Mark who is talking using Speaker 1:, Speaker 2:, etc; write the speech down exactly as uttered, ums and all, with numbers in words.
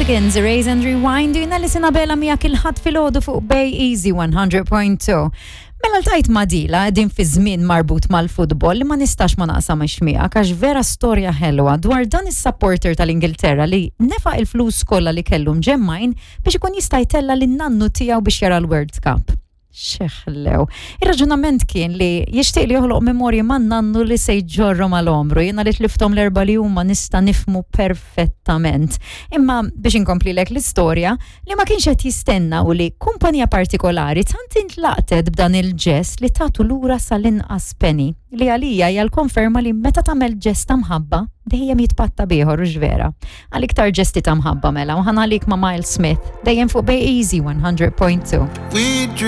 Speaker 1: Cardigans, Erase and Rewind, jiena Alison Abela miegħek il-Ħadd filgħodu fuq Bay Easy one hundred point two. Mela ltqajt ma' dila din fi żmien marbut mal-futbol li ma nistax ma naqsamx miegħek għax vera storja ħelwa dwar dan is-supporter tal-Ingilterra li nefaq il-flus kollha li kellu mġemmgħin biex ikun jista' jtella' lin-nannu tiegħu biex jara l-World Cup. Xeħlew. Ir-raġunament kien li jixtieq li joħloq memorji man nannu li se jġorru mal-omru. Jiena li tliftom l-erba li huma nista' nifhmu perfettament. Imma biex inkomplilek l-istorja, li ma kienx qed jistenna u li kumpanija partikolari tant intlaqtet b'dan il-ġest li tatu lura sal-inqas penny, li għalija hija l-konferma li meta tagħmel ġest ta' mħabba dejjem jitpatta b'ieħor u vera. Għal iktar ġesti ta' mħabba mela u ħa nħallik ma' Miles Smith dejjem fuq Bay Easy one hundred point two.
Speaker 2: We